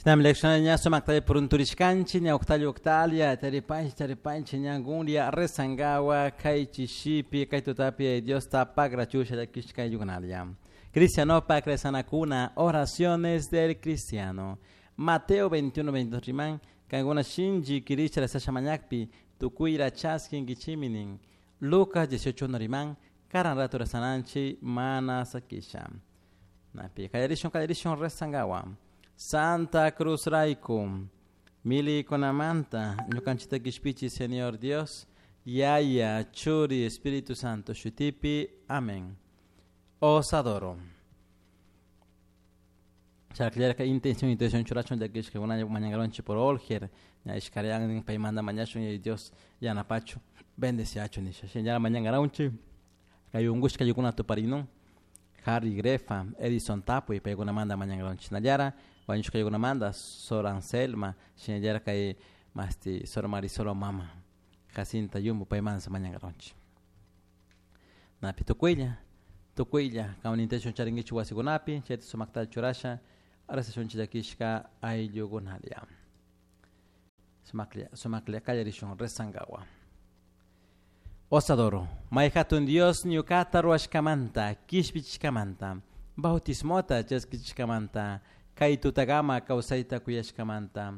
Shinami lecciones sumakta purunturishkanchik ña uktalla uktalla taripanchik taripanchik ñangunlla rezangawa kay chishipi kay tutapi Diosta pagrachusha llakishka ayllukunalla. Cristianopak rezanakuna oraciones del cristiano. Mateo 21, 22 riman kankuna shinchi kirisha rezasha mañakpi tukuyra chaskinkichimi nin. Lucas 18 riman karan rato rezananchik mana sakisha. Napi kallarishun kallarishun rezangawa. Santa Cruz Raiku, milikunamanta, ñukanchita kishpichi Señor Dios, Yaya, Churi, Espíritu Santo, Shutipi, Amén. Os adoro. Chakllarka intención, intención churachun llakishka kuna mañangaronchi por Olger, ña ishkarian paymanta mañashun y Dios yanapachu, bendeciachu nisha. Shinalla mañangaronchi, kay unkushka ayllukunata tuparinun, Harry Grefa, Edison Tapuy, paykunamanta mañangaronchi. Shinallara, wañushka ayllukunamanta, Sor Anselma, shinallara kay masti Sor Marisol mama, Jacinta Yumbo, paymanta mañangaronchi. Napi tukuylla, tukuylla, kaman intención charinkichik wasikunapi, chayta sumakta churasha, rezashunchik llakishka ayllukunalla. Sumaklla, sumaklla kallarishun rezangawa. Os adoro, may hatun Dios ñukata ruwashkamanta, kishpichishkamanta, bautismota chaskichishkamanta, kay tutagama kawsayta kuyashkamanta,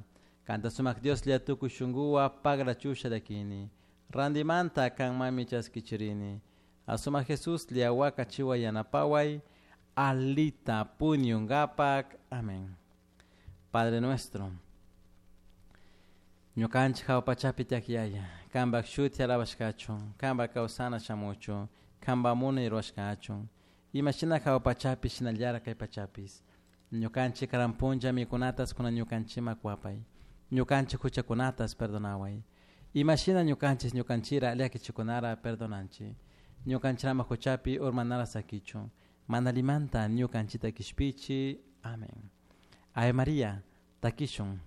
kanta sumak Dioslla tukuy shunkuwa pagrachusha llakini, randimanta kanmami chaskichirini, asumak Jesuslla wakachiwa yanapaway, alita puñungapak. Amén. Padre nuestro, ñukanchik hawa pachapi tiyak Yaya, kanpak shuti alabashkachun, kanpak kawsana shamuchun, kanpak munay rurashkachun, imashina hawa pachapi shinallara kay pachapis. Ñukanchik karan punlla mikunatas kunan ñukanchikman kuwapay, ñukanchik huchakunatas perdonaway, imashina ñukanchik ñukanchira llakichikunara perdonanchik, ñukanchirama huchapi urmanara sakichun, mana allimanta ñukanchita kishpichi. Amén. Ave María, takishun.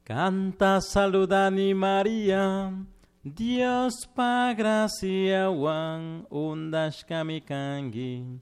Kanta saludani María, Diospaj graciahuan undashkami kanki.